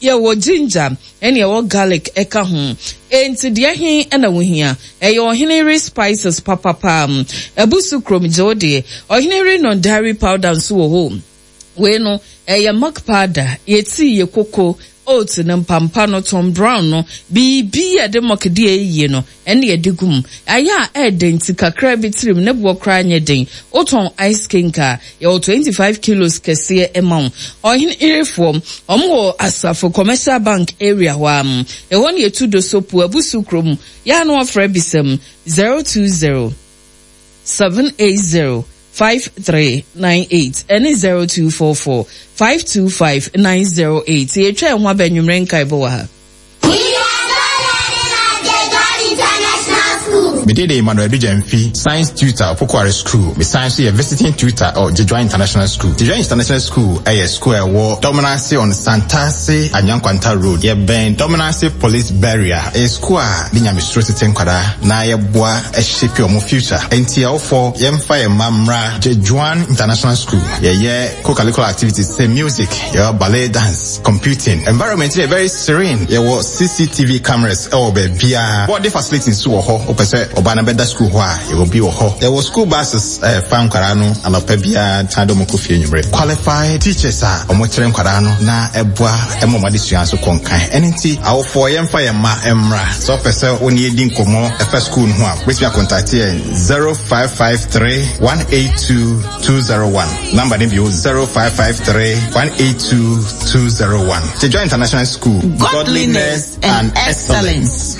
Yɛwɔ ginger ɛne yɛwɔ garlic ɛka ho. Enti deɛ he na wohia? Ɛyɛ Ɔhene Yere spices papapa. Abusu kurom gye wo deɛ. Ɔhene Yere non-dairy powder nso wɔ hɔ o. Wei no, ɛyɛ milk powder, yɛ tea, yɛ koko, oats no, mpampa no, Tom Brown no, biribi a yɛde milk de yɛ yie no, ɛne yɛde gu mu. Ayɛ a ɛɛdɛ nti kakra bi tirim, ne boɔ koraa nyɛ den. Wotɔn ice cake a, yɛwɔ 25 kilos kɛseɛ ma wo. Ɔhene yerefoɔ, wɔn wɔ Asafo Commercial Bank area hɔ ara. Ɛhɔ na yɛtu Dosopu, Abusu kurom. Yɛ a na wɔfrɛ bisa mu, 020 780 5398 ɛne 0244 525 908. Yɛtwa ɛho aba anwummerɛ nkaebɔ wɔ ha. Me din de Emmanuel Adu Gyamfi, Science tutor Opokuare School. Me san nso yɛ visiting tutor wɔ Gyedwa International School. Gyedwa International School yɛ school a ɛwɔ Dominase on Santase Anyankwanta Road. Yɛbɛn Dominase Police Barrier. Ɛyɛ school a de nyamesuro tete nkwadaa na yɛboa shape wɔn future. Enti awofoɔ yɛmfa yɛn mma mmra Gyedwan International School. Yɛyɛ co-curricular activities sɛ music, yɛwɔ ballet dance, computing. Environment no yɛ very serene. Yɛwɔ CCTV cameras wɔ baabiara. Boarding facility nso wɔ hɔ. Wopɛ sɛ ɔba no bɛda school hɔ a, yɛwɔ bi wɔ hɔ. Yɛwɔ school buses a ɛfa nkwadaa no anɔpa biara san de wɔn kɔ fie anwummere. Qualified teachers a wɔkyerɛ nkwadaa no na ɛboa ma wɔn adesua nso kɔ nkan. Ɛno nti, awofoɔ yɛmfa yɛn mma mmra. Sɛ wopɛ sɛ wo ne yɛn di nkɔmmɔ ɛfa school no ho a, wobɛtumi akɔntate yɛn 0553 182 201. Number no bio 0553 182 201. Jejoa International School. Godliness and excellence.